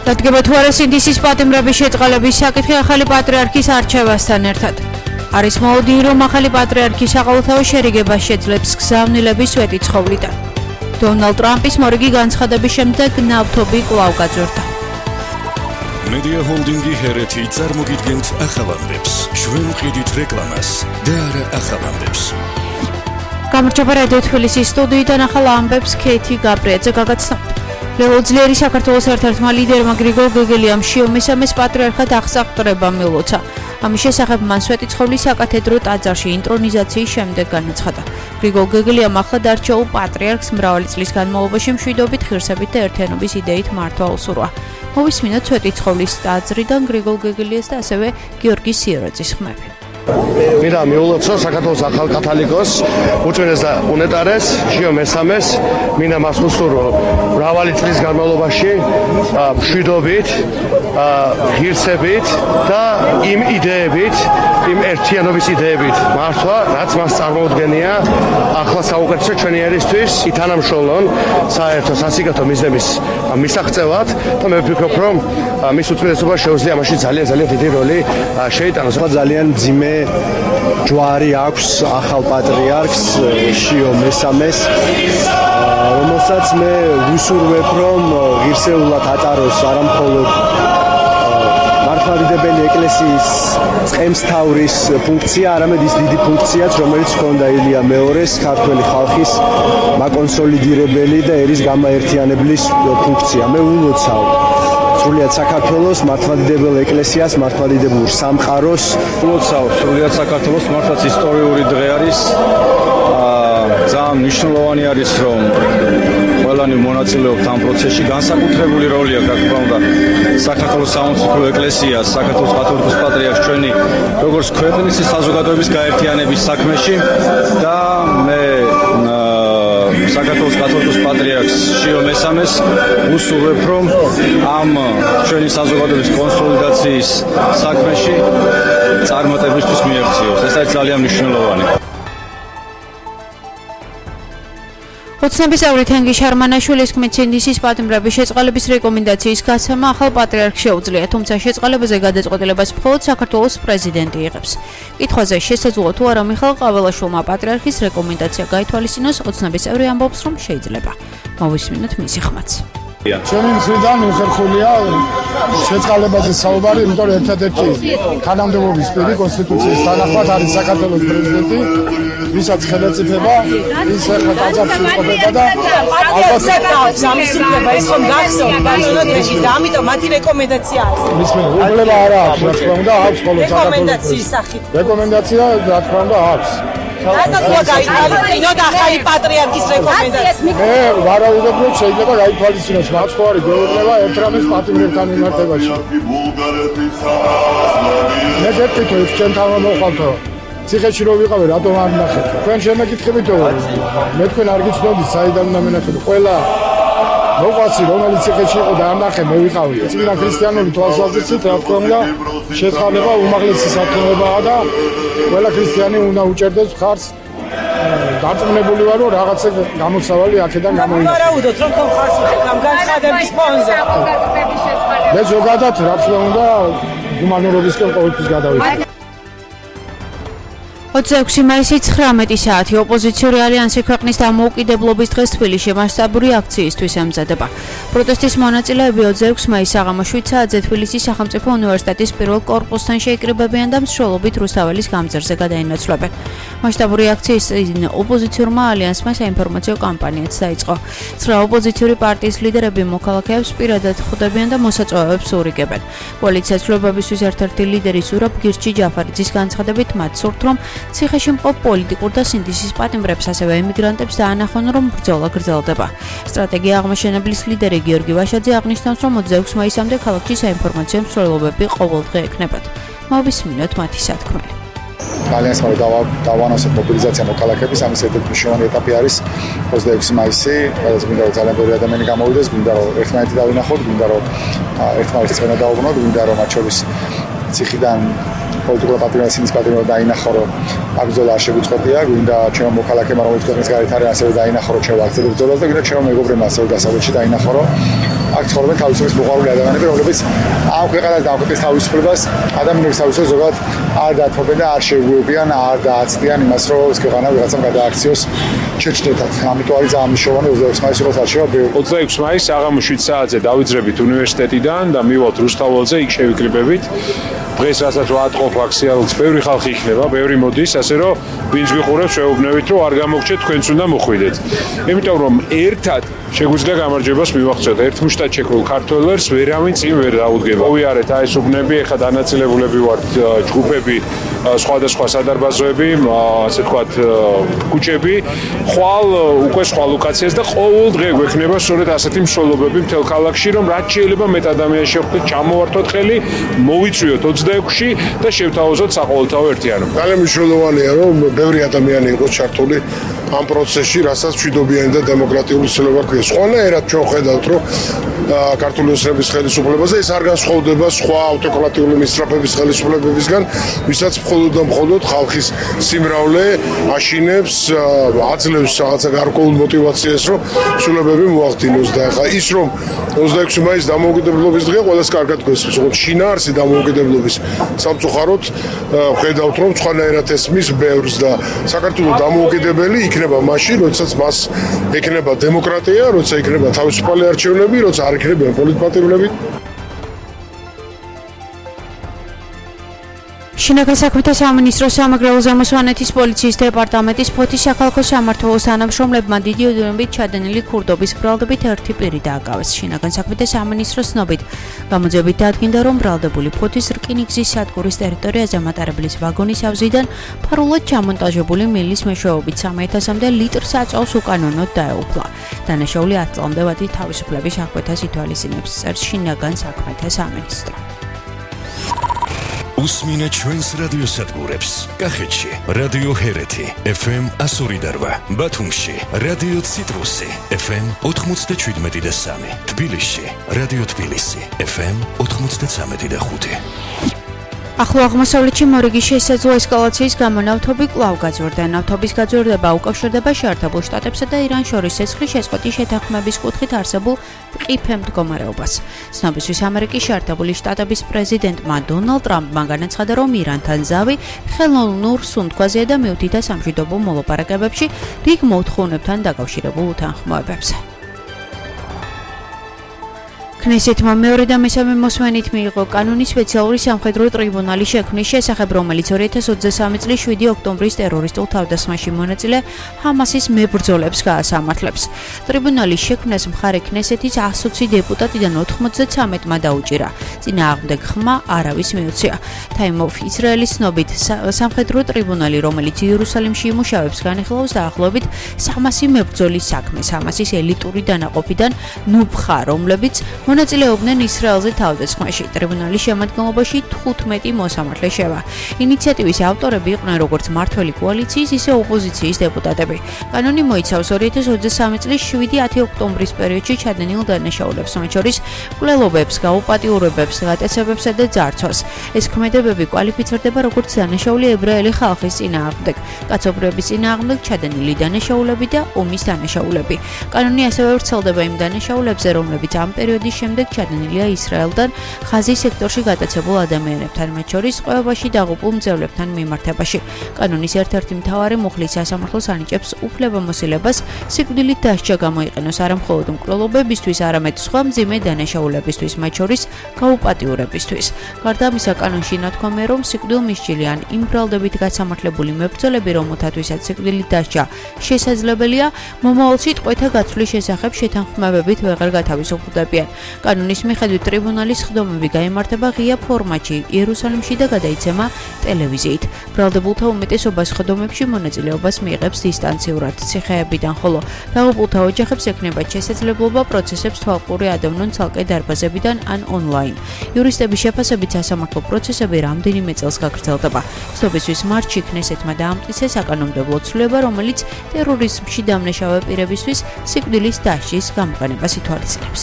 დადგება თუ არა სინდისის პატიმრების შეწყალების საკითხი ახალი პატრიარქის არჩევასთან ერთად. არის მოლოდინი, რომ ახალი პატრიარქის საყოველთაო შერიგებას შეძლებს გზავნილების სვეტიცხოვლიდან. დონალდ ტრამპის მორიგი განცხადების შემდეგ ნავთობი კვლავ გაძვირდა. მედია ჰოლდინგი ჰერეთი წარმოგიდგენთ ახალამდებს. ჩვენ ვყიდით რეკლამას და არა ახალამდებს. გამარჯობა რადიო თბილისის სტუდიიდან ახალ ამბებს ქეთი გაბრიაძე გაგაცნობთ. ლელოძლიერი საქართველოს ერთ-ერთმა ლიდერმა გრიგოლ გეგელიამ შიო მესამეს პატრიარქად აღსაყრება მილოცა. ამის შესახებ მან სვეტიცხოვლის საკათედრო ტაძარში ინტრონიზაციის შემდეგ განაცხადა. გრიგოლ გეგელიამ ახლად არჩეულ პატრიარქს მრავალი წლის განმავლობაში მშვიდობით, ღირსებით და ერთიანობის იდეით მართვა უსურვა. მოვისმინოთ სვეტიცხოვლის ტაძრიდან გრიგოლ გეგელიას და ასევე გიორგი სიორაძის ხმები. მინდა მიულოცო საქართველოს ახალ კათოლიკოს უწმინდეს და უნეტარეს შიო მესამეს მინდა მას უსურვო მრავალი წლის განმავლობაში მშვიდობით, ღირსებით და იმ იდეებით, იმ ერთიანობის იდეებით მართვა, რაც მას წარმოუდგენია ახლა საუკეთესო ჩვენი ერისთვის ითანამშრომლონ საერთო სასიკეთო მიზნების მისაღწევად და მე ვფიქრობ, რომ მის უწმინდესობას შეუძლია ამაში ძალიან დიდი როლი შეიტანოს. ძალიან მძიმე ჯვარი აქვს ახალ პატრიარქს შიო მესამეს, რომელსაც მე ვისურვებ, რომ ღირსეულად ატაროს არამხოლოდ მართლმადიდებელი ეკლესიის წყემსთავრის ფუნქცია, არამედ ის დიდი ფუნქციაც, რომელიც ჰქონდა ილია მეორეს ქართველი ხალხის მაკონსოლიდირებელი და ერის გამაერთიანებლის ფუნქცია. მე ულოცავ სრულიად საქართველოს მართლმადიდებელ ეკლესიას, მართლმადიდებელ სამყაროს. ულოცავ სრულიად საქართველოს, მართლაც ისტორიული დღე არის. ძალიან მნიშვნელოვანი არის, რომ ყველანი მონაწილეობთ ამ პროცესში. განსაკუთრებული როლი აქვს, რა თქმა უნდა, საქართველოს სამოციქულო ეკლესიას, საქართველოს კათოლიკოს პატრიარქს ჩვენი როგორც ქვეყნის საზოგადოების გაერთიანების საქმეში და მე საქართველოს კათოლიკოს პატრიარქს შიო მესამეს უსურვებ, რომ ამ ჩვენი საზოგადოების კონსოლიდაციის საქმეში წარმატებისთვის მიექციოს. ეს არის ძალიან მნიშვნელოვანი. ოცნების წევრი თენგი შარმანაშვილის თქმით, სინდისის პატიმრების შეწყალების რეკომენდაციის გაცემა ახალ პატრიარქს შეუძლია, თუმცა შეწყალებაზე გადაწყვეტილებას მხოლოდ საქართველოს პრეზიდენტი იღებს. კითხვაზე შესაძლოა თუ არა მიხეილ ყაველაშვილმა პატრიარქის რეკომენდაცია გაითვალისწინოს, ოცნების წევრი ამბობს, რომ შეიძლება. მოვისმინოთ მისი ხმაც. ჩემი მხრიდან უხერხულია შეწყალებაზე საუბარი, იმიტომ რომ ერთადერთი თანამდებობის პირი კონსტიტუციის თანახმად არის საქართველოს პრეზიდენტი, ვისაც ხელისუფლება ის ახლა ტაძარში იყოფება და ალბათ სამისუფლება ის ხომ გახსოვთ ბანონოდეში და ამიტომ მათი რეკომენდაცია არის. მისმენელობა არა აქვს, რა თქმა უნდა, აქვს მხოლოდ რეკომენდაციის სახით. რეკომენდაცია რა თქმა უნდა აქვს. რატომ გაითვალისწინოთ ახალი პატრიარქის რეკომენდაცია? მე ვარაუდობ, რომ შეიძლება გაითვალისწინოს მათ ხო არის გვეუბნება ერთ რამეს პატიმრებთან მიმართებაში. მე გეტყვით, ჩვენ თავმოყავთო. ციხეში რო ვიყავი, რატომ არ ნახეთ? თქვენ შემეკითხებითო, მე თქვენ არ გიცნობთ, საიდან უნდა მენახეთ. ყველა მოყვასი, რომელიც ციხეში იყო და არ ნახე, მე ვიყავი. წმინდა ქრისტიანული თვალსაზრისით, რა თქმა უნდა, შეწყალება უმაღლესი საქმეებაა და ყველა ქრისტიანი უნდა უჭერდეს მხარს. დარწმუნებული ვარ, რომ რაღაცა გამოსავალი აქედან გამოიცა. ვარაუდოთ, რომ თვითონ ხარს უჭერთ ამ განცხადების ფონზე. მე ზოგადად, რა თქმა უნდა, გუმანურობისკენ ყოველთვის გადავიდე. 26 მაისი 19 საათი ოპოზიციური ალიანსი ქვეყნის დამოუკიდებლობის დღეს თბილისში მასშტაბური აქციისთვის ემზადება. პროტესტის მონაწილეები 26 მაისს საღამოს 7 საათზე თბილისის სახელმწიფო უნივერსიტეტის პირველ კორპუსთან შეიკრიბებიან და მსვლელობით რუსთაველის გამზირზე გადაინაცვლებენ. მასშტაბური აქციის წინ ოპოზიციურმა ალიანსმა საინფორმაციო კამპანიაც დაიწყო. 9 ოპოზიციური პარტიის ლიდერები მოქალაქეებს პირადად ხვდებიან და მოსაწვევებს ურიგებენ. კოალიცია ცვლილებებისთვის ერთ-ერთი ლიდერი ზურაბ გირჩი ჯაფარიძის განცხადებით მათ სურთ, რომ ციხეში მყოფ პოლიტიკურ და სინდისის პატიმრებს, ასევე ემიგრანტებს დაანახონ, რომ ბრძოლა გრძელდება. სტრატეგია აღმაშენებლის ლიდერი გიორგი ვაშაძე აღნიშნავს, რომ 26 მაისამდე ქალაქში საინფორმაციო მსვლელობები ყოველდღე ექნებათ. მოვისმინოთ მათი სათქმელი. ალიანსმა დავანონსეთ მობილიზაცია მოქალაქეების, ამის ერთ-ერთი მნიშვნელოვანი ეტაპი არის 26 მაისი, სადაც გვინდა რომ ძალიან ბევრი ადამიანი გამოვიდეს, გვინდა რომ ერთმანეთი დავინახოთ, გვინდა რომ ერთმანეთს წვენა დაუბრუნოთ, გვინდა რომ მათ შორის ციხიდან პოლიტიკურ პატრიოტიზმის პატრიოტი დაინახო, რომ აქ ბრძოლა არ შეგვიწყვეტია, გვინდა ჩემო მოქალაქემა, რომელიც ქვეყნის გარეთ არის, ასევე დაინახო, რომ ჩვენ ვაგრძელებთ ბრძოლას და გვინდა ჩემო მეგობრებმა ასევე დასავლეთში დაინახო, რომ აქ ცხოვრობენ თავისუფლების მოყვარული ადამიანები, რომლებიც ამ ქვეყანას და ამ ქვეყნის თავისუფლებას, ადამიანების თავისუფლებას ზოგადად არ დათმობენ და არ შეუგუებიან, არ დააცდიან იმას, რომ ეს ქვეყანა ვიღაცამ გადააქციოს ჩეჩნეთად. ამიტომ არის ძალიან მნიშვნელოვანი 26 მაისი როგორც არჩევა. 26 მაისს საღამოს 7 საათზე დავიძრებით უნივერსიტეტიდან და მივალთ რუსთაველზე, იქ შევიკრიბებით. დღეს რასაც ვატყობ აქციალს, ბევრი ხალხი იქნება, ბევრი მოდის, ასე რომ ვინც გიყურებს, შეუბნევით, რომ არ გამოგჩეთ, თქვენც უნდა მოხვიდეთ. იმიტომ რომ ერთად შეგვიძლია გამარჯვებას მივაღწიოთ. ერთმუშტად შექმნილ ქართველებს ვერავინ წინ ვერ დაუდგება. მოვიარეთ აი ეს უბნები, ეხლა დანაწილებულები ვართ ჯგუფები, სხვადასხვა სადარბაზოები, ასე ვთქვათ, კუჩები, ხვალ უკვე სხვა ლოკაციას და ყოველ დღე გვექნება სწორედ ასეთი მსვლელობები მთელ ქალაქში, რომ რაც შეიძლება მეტ ადამიანს შევხვდეთ, ჩამოვართოთ ხელი, მოვიწვიოთ 26-ში და შევთავაზოთ საყოველთაო ერთიანობა. ძალიან მნიშვნელოვანია, რომ ბევრი ადამიანი იყოს ჩართული ამ პროცესში, რასაც მშვიდობიანი და დემოკრატიული ცვლილება გვქონდეს. ყველანაირად ჩვენ ხედავთ, რომ ქართული ოცნების ხელისუფლებაზე ეს არ განსხვავდება სხვა ავტოკრატიული მისწრაფების ხელისუფლებებისგან, ვისაც მხოლოდ და მხოლოდ ხალხის სიმრავლე აშინებს, აძლევს რაღაცა გარკვეულ მოტივაციას, რომ ცვლილებები მოახდინოს და ახლა ის რომ 26 მაისს დამოუკიდებლობის დღეა, ყველას კარგად გვესმის, როგორც შინაარსი დამოუკიდებლობის სამწუხაროდ ხედავთ, რომ სხვანაირად ესმის ბევრს და საქართველოს დამოუკიდებელი იქნება მაშინ, როდესაც მას ექნება დემოკრატია, როცა იქნება თავისუფალი არჩევნები, როცა არ იქნება პოლიტპატიმრები. შინაგან საქმეთა სამინისტროს სამეგრელო ზემო-სვანეთის პოლიციის დეპარტამენტის ფოთის საქალაქო სამმართველოს თანამშრომლებმა დიდი ოდენობით ჩადენილი ქურდობის ბრალდებით ერთი პირი დააკავეს. შინაგან საქმეთა სამინისტროს ცნობით, გამოძიებით დადგინდა, რომ ბრალდებული ფოთის რკინიგზის სადგურის ტერიტორიაზე მატარებლის ვაგონის ავზიდან ფარულად ჩამონტაჟებული მილის მეშვეობით 3000-მდე ლიტრს აწვავს უკანონოდ დაეუფლა. დანაშაული 10 წლამდე ვადი თავისუფლების აღკვეთას ითვალისწინებს, წერს შინაგან საქმეთა სამინისტრო. უსმინეთ ჩვენს რადიოსადგურებს. კახეთში რადიო ჰერეთი FM 102.8, ბათუმში რადიო ციტრუსი FM 97.3, თბილისში რადიო თბილისი FM 93.5. ახლო აღმოსავლეთში მორიგის შესაძლო ესკალაციის გამო ნავთობი კვლავ გაძვირდა. ნავთობის გაძვირდება უკავშირდება შეერთებულ შტატებსა და ირანს შორის ცეცხლის შეწყვეტის შეთანხმების კუთხით არსებულ მყიფე მდგომარეობას. ცნობისთვის ამერიკის შეერთებული შტატების პრეზიდენტმა დონალდ ტრამპმა განაცხადა, რომ ირანთან ზავი ხელოვნურ სუნთქვაზეა და მიუთითა სამშვიდობო მოლაპარაკებებში რიგ მოთხოვნებთან დაკავშირებულ უთანხმოებებზე. ქნესეთმა მეორე და მესამე მოსმენით მიიღო კანონის სპეციალური სამხედრო ტრიბუნალის შექმნის შესახებ, რომელიც 2023 წლის 7 ოქტომბრის ტერორისტულ თავდასხმაში მონაწილე ჰამასის მებრძოლებს გაასამართლებს. ტრიბუნალის შექმნას მხარე ქნესეთის 120 დეპუტატიდან 93-მა დაუჭირა. წინააღმდეგ ხმა არავის მიუწია. Time of ისრაელის ცნობით, სამხედრო ტრიბუნალი, რომელიც იერუსალიმში იმუშავებს, განიხილავს დაახლოებით 300 მებრძოლის საქმეს ჰამასის ელიტური დანაყოფიდან ნუფხა, რომლებიც მონაწილეობდნენ ისრაელზე თავდასხმაში. ტრიბუნალის შემადგენლობაში 15 მოსამართლე შევა. ინიციატივის ავტორები იყვნენ როგორც მმართველი კოალიციის, ისე ოპოზიციის დეპუტატები. კანონი მოიცავს 2023 წლის 7-10 ოქტომბრის პერიოდში ჩადენილ დანაშაულებს, მათ შორის მკვლელობებს, გაუპატიურებებს, გატაცებებსა და ძარცვას. ეს ქმედებები კვალიფიცირდება როგორც დანაშაული ებრაელი ხალხის წინააღმდეგ, კაცობრიობის წინააღმდეგ ჩადენილი დანაშაულები და ომის დანაშაულები. კანონი ასევე ვრცელდება იმ დანაშაულებზე, რომლებიც ამ პერიოდის შემდეგ ჩადენილია ისრაელთან ხაზის სექტორში გატაცებულ ადამიანებთან, მათ შორის ყევაში დაღუპულ მძევლებთან მიმართებაში. კანონის ერთ-ერთი მთავარი მუხლის სასამართლოს ანიჭებს უფლებამოსილებას სიკვდილით დასჯა გამოიყენოს არა მხოლოდ მკვლელობებისთვის, არამედ სხვა მძიმე დანაშაულებისთვის, მათ შორის გაუპატიურებისთვის. გარდა ამისა, კანონში ნათქვამია, რომ სიკვდილმისჯილი ან იმ ბრალდებით გასამართლებული მებრძოლები, რომელთათვისაც სიკვდილით დასჯა შესაძლებელია, მომავალში ტყვეთა გაცვლის შესახებ შეთანხმებებით ვეღარ გათავისუფლდებიან. კანონის მიხედვით ტრიბუნალის ხდომები გაიმართება ღია ფორმატში იერუსალიმში და გადაიცემა ტელევიზიით. ბრალდებულთა უმეტესობას ხდომებში მონაწილეობას მიიღებს დისტანციურად ციხეებიდან, ხოლო დაღუპულთა ოჯახებს ექნებათ შესაძლებლობა პროცესებს თვალყური ადევნონ ცალკე დარბაზებიდან ან ონლაინ. იურისტების შეფასებით სასამართლო პროცესები რამდენიმე წელს გაგრძელდება. ცნობისთვის მარტში ქნესეთმა დაამტკიცა საკანონმდებლო ცვლილება, რომელიც ტერორიზმში დამნაშავე პირებისთვის სიკვდილის დასჯის გამოყენებას ითვალისწინებს.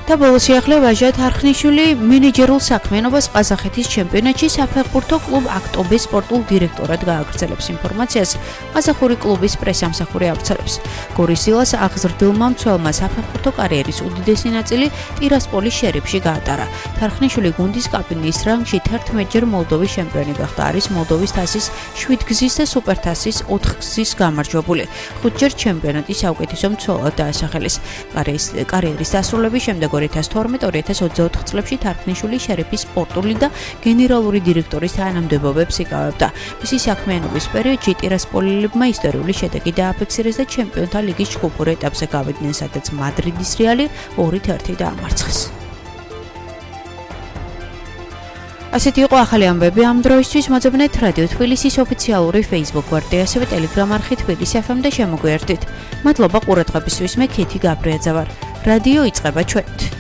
და ბოლოს შეახლე ვაჟა თარხნიშვილი მენეჯერულ საქმიანობას ყაზახეთის ჩემპიონატში საფეხბურთო კლუბ აქტობეს სპორტულ დირექტორად გააგრძელებს ინფორმაციას ყაზახური კლუბის პრესამსახური ავრცელებს. გორისილას აღზრდილმა მცველმა საფეხბურთო კარიერის უდიდესი ნაწილი ტირასპოლის შერიფში გაატარა. თარხნიშვილი გუნდის კაპიტნის რანგში 11-ჯერ მოლდოვის ჩემპიონი გახდა. არის მოლდოვის თასის 7-გზის და სუპერთასის 4-გზის გამარჯვებული. 5-ჯერ ჩემპიონატის საუკეთესო მცველად დაასახელეს. კარიერის დასრულების შემდეგ 2012-2024 წლებში თარხნიშვილი შერიფის სპორტული და გენერალური დირექტორის თანამდებობებს იკავებდა. მისი საქმიანობის პერიოდში ტირასპოლიელებმა ისტორიული შედეგი დააფიქსირეს და ჩემპიონთა ლიგის ჯგუფურ ეტაპზე გავიდნენ, სადაც მადრიდის რეალი 2-1 დაამარცხეს. ასეთი იყო ახალი ამბები ამ დროისთვის. მოძებნეთ რადიო თბილისის ოფიციალური Facebook გვერდი, ასევე Telegram არხი თბილისი FM და შემოგვიერთდით. მადლობა ყურადღებისთვის. მე ქეთი გაბრიაძე ვარ. რადიო იწყება ჩვენით.